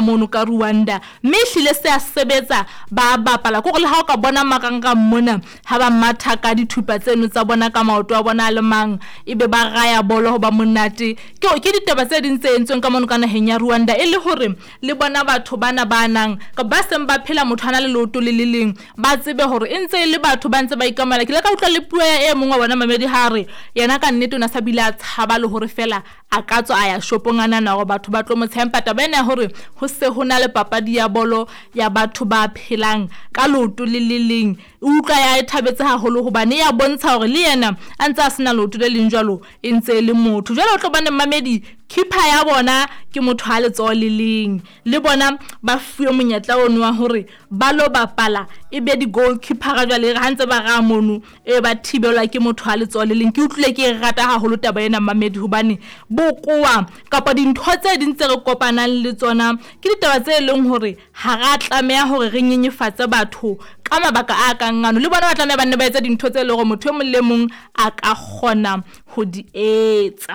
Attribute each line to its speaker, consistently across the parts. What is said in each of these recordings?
Speaker 1: Mono ka Rwanda, mme ehlile se a sebetsa, ba bapala. Ke hore le ha o ka bona marangrang mona ha ba matha ka dithupa tseno tsa bona ka maoto a bona a le mang, ebe ba raya bolo ho ba monate. Ke ditaba tse ding tse entsweng ka mono ka naheng ya Rwanda e le hore le bona batho bana ba nang ba seng ba phela motho a na le leoto le le leng, ba tsebe hore e ntse e le batho ba ntse ba ikamela. Ke ile ka utlwa le puo ya e mong wa bona mamedi ha re yena ka nnete o na sa bile a tshaba le hore feela a ka tswa a ya shopong a nahana hore batho ba tlo mo tsheha. Empa taba ena ya hore ho se ho na le papadi ya bolo ya batho ba phelang ka leoto le le leng, e utlwa ya e thabetse haholo hobane ya bontsha hore le yena a ntse a sena leoto le leng jwalo, e ntse e le motho. Jwale o tlo bone mmamedi, keeper ya bona ke motho a letsoho le leng, le bona ba fuwe monyetla ono wa hore ba lo bapala e be di-goalkeeper-a. Jwale e re ha ntse ba raha mono, e ba thibelwa ke motho a letsoho le leng. Ke utlwile ke e rata haholo taba ena mmamedi, hobane bokowa kapa dintho tse ding tse re kopanang le tsona ke ditaba tse leng hore ha ra tlameha hore re nyenyefatse batho ka mabaka a kang ano. Le bona ba tlameha ba nne ba etse dintho tse leng hore motho e mong le mong a ka kgona ho di etsa.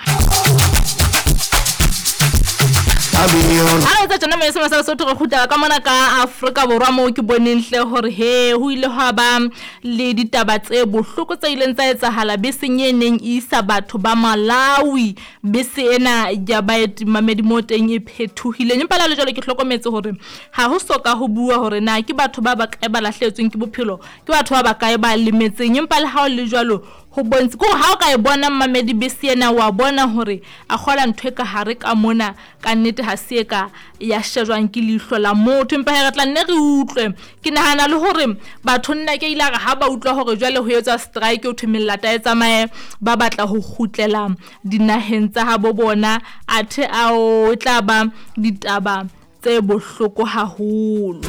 Speaker 1: Ha re etsa tjena Moesema sa Lesotho, re kgutlela ka mona ka Afrika Borwa moo ke boneng hle hore he ho ile hwa ba le ditaba tse bohloko tse ileng tsa etsahala beseng e neng e isa batho ba Malawi. Bese ena ya baeti mamedi moo teng e phethohileng, empa le ha le jwalo ke hlokometse hore ha ho soka ho bua hore na ke batho ba bakae ba lahlehetsweng ke bophelo, ke batho ba bakae ba lemetseng. Empa le ha ho le jwalo ho bontshe ke hore ha o ka e bona mmamedi bese ena, wa bona hore a kgola ntho e ka hare ka mona ka nnete ha se e ka ya shejwang ke leihlo la motho. Empa he re tla nne re utlwe. Ke nahana le hore batho nna ke ile a re ha ba utlwa hore jwale ho etswa strike, ho thwe melata e tsamaye, ba batla ho kgutlela dinaheng tsa habo bona, athe ao e tla ba ditaba tse bohloko haholo.